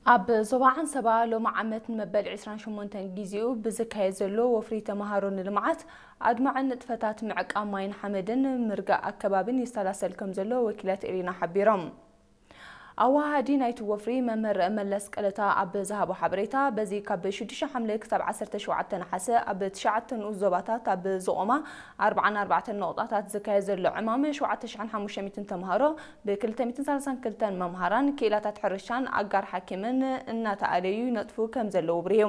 ኣብ ዞባ ዓንሰባ ሎሚ ዓመት ንመበል ዕስራን ሸሞንተን ግዜኡ ብዝካየድ ዘሎ ወፍሪ ተምሃሮ ንልምዓት ኣድማዕን ንጥፈታት ምዕቃብ ማይን ሓመድን ምርጋእ ኣከባብን ይሰላሰል ከም ዘሎ ወኪላት ኤሪና ሓቢሮም። ኣወሃሃዲ ናይቲ ወፍሪ መምህር መለስ ቀለታ ኣብ ዝሃቦ ሓበሬታ፣ በዚ ካብ ሽዱሽተ ሓምለ ክሳብ ዓሰርተ ሸውዓተ ነሓሰ ኣብ ትሽዓተ ንኡስ ዞባታት ኣብ ዝቖማ ኣርባዓን ኣርባዕተን ነቑጣታት ዝካየድ ዘሎ ዕማም ሸውዓተ ሽሕን ሓሙሽተ ሚእትን ተምሃሮ ብ ክልተ ሚእትን ሰላሳን ክልተን መምሃራን፣ ክኢላታት ሕርሻን ኣጋር ሓኪምን እናተኣለዩ ይነጥፉ ከም ዘለዉ ኣብሪሁ።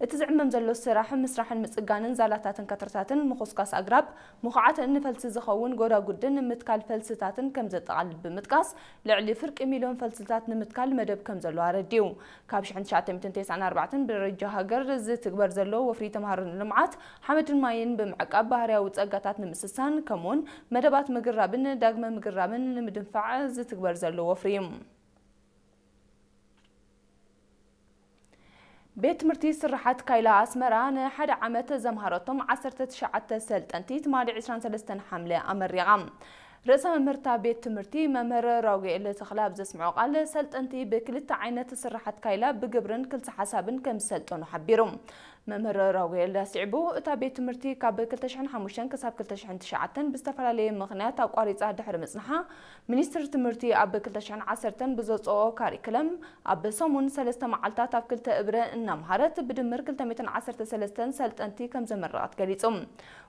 እቲ ዝዕመም ዘሎ ስራሕ ምስራሕን ምጽጋንን ዛላታትን ከትርታትን ምኹስኳስ ኣግራብ፣ ምኹዓት ንፈልሲ ዝኸውን ጎዳጉድን ምትካል ፈልስታትን ከም ዘጠቓልል ብምጥቃስ፣ ልዕሊ ፍርቂ ሚልዮን ፈልስታት ንምትካል መደብ ከም ዘሎ ኣረዲኡ። ካብ ሽሕን ትሽዓተ ሚእትን ተስዓን ኣርባዕተን ብደረጃ ሃገር ዝትግበር ዘሎ ወፍሪ ተምሃሮ ንልምዓት ሓመድን ማይን ብምዕቃብ ባህርያዊ ጸጋታት ንምስሳን፣ ከምኡውን መደባት ምግራብን ዳግመ ምግራብን ንምድንፋዕ ዝትግበር ዘሎ ወፍሪ እዩ። ቤት ትምህርቲ ስርሓት ካይላ ኣስመራ ንሓደ ዓመት ዘምሃረቶም ዓሰርተ ትሽዓተ ሰልጠንቲ ትማሊ ዕስራን ሰለስተን ሓምለ ኣመሪቓ። ርእሰ መምህርታ ቤት ትምህርቲ መምህር ራጉኤል ተኽለ ኣብ ዘስምዖ ቃል፣ ሰልጠንቲ ብክልተ ዓይነት ስርሓት ካይላ ብግብርን ክልሰ ሓሳብን ከም ዝሰልጠኑ ሓቢሩ። መምህር ራጉኤል ኣስዒቡ፣ እታ ቤት ትምህርቲ ካብ ክልተ ሽሕን ሓሙሽተን ክሳብ ክልተ ሽሕን ትሽዓተን ብዝተፈላለየ ምኽንያት ኣቋሪጻ ድሕሪ ምጽንሓ፣ ሚኒስትሪ ትምህርቲ ኣብ ክልተ ሽሕን ዓሰርተን ብዘውጽኦ ካሪክለም ኣብ ሰሙን ሰለስተ መዓልታት ኣብ ክልተ እብረ እናምሃረት ብድምር ክልተ ሚእትን ዓሰርተ ሰለስተን ሰልጠንቲ ከም ዘመረቐት ገሊጹ።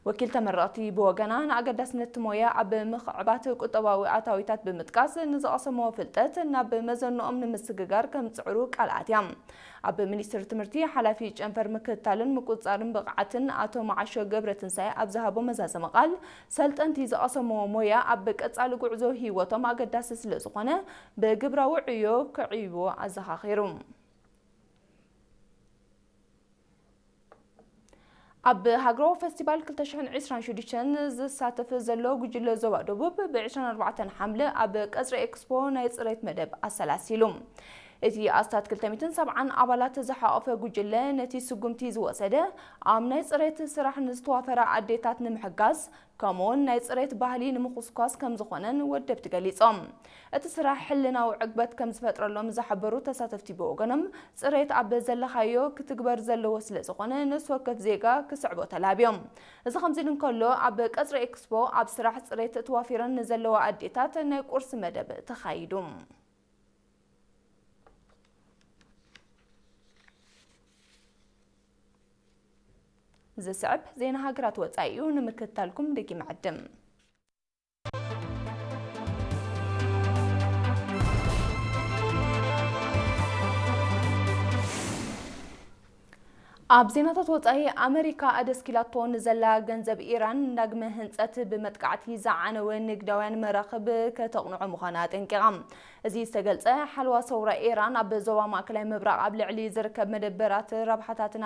ወኪል ተመረቕቲ ብወገና፣ ንኣገዳስነት እቲ ሞያ ኣብ ምኽዕባት ቁጠባዊ ኣታዊታት ብምጥቃስ፣ ንዝቐሰምዎ ፍልጠት ናብ መዘንኦም ንምስግጋር ከም ዝጽዕሩ ቃል ኣትያ። ኣብ ሚኒስትሪ ትምህርቲ ሓላፊ ጨንፈር ምክትታልን ምቁጽጻርን ብቕዓትን ኣቶ መዓሾ ገብረትንሳኤ ኣብ ዝሃቦ መዛዘሚ ቃል፣ ሰልጠንቲ ዝቐሰምዎ ሞያ ኣብ ቀጻሊ ጉዕዞ ህይወቶም ኣገዳሲ ስለ ዝኾነ፣ ብግብራዊ ዕዮ ከዕይዎ ኣዘኻኺሩ። ኣብ ሃገራዊ ፈስቲቫል ክልተ ሽሕን ዕስራን ሽዱሽተን ዝሳተፍ ዘሎ ጉጅለ ዞባ ደቡብ፣ ብ ዕስራን ኣርባዕተን ሓምለ ኣብ ቀጽሪ ኤክስፖ ናይ ጽሬት መደብ ኣሰላሲሉ። እቲ ኣስታት ክልተ ሚእትን ሰብዓን ኣባላት ዝሓቖፈ ጉጅለ፣ ነቲ ስጉምቲ ዝወሰደ፣ ኣብ ናይ ጽሬት ስራሕ ንዝተዋፈራ ኣዴታት ንምሕጋዝ፣ ከምኡውን ናይ ጽሬት ባህሊ ንምኹስኳስ ከም ዝኾነን ወደብቲ ገሊጾም። እቲ ስራሕ ሕልናዊ ዕግበት ከም ዝፈጥረሎም ዝሓበሩ ተሳተፍቲ ብወገኖም፣ ጽሬት ኣብ ዘለኻዮ ክትግበር ዘለዎ ስለ ዝኾነ፣ ነፍሲ ወከፍ ዜጋ ክስዕቦ ተላብዮም። እዚ ከምዚ ኢሉ እንከሎ፣ ኣብ ቀጽሪ ኤክስፖ ኣብ ስራሕ ጽሬት ተዋፊረን ንዘለዋ ኣዴታት ናይ ቁርሲ መደብ ተኻይዱ። ዝስዕብ ዜና ሃገራት ወጻኢ እዩ፣ ንምክትታልኩም ደጊመ ዕድም። ኣብ ዜናታት ወጻኢ፣ ኣመሪካ ኣደስኪላቶ ንዘላ ገንዘብ ኢራን ዳግመ ህንጸት ብመጥቃዕቲ ዝዓነወ ንግዳውያን መራኽብ ከተቕንዖ ምዃና ኣጠንቂቓ። እዚ ዝተገልጸ፣ ሓለዋ ሰውራ ኢራን ኣብ ዞባ ማእከላይ ምብራቕ ኣብ ልዕሊ ዝርከብ መደበራት ረብሓታትን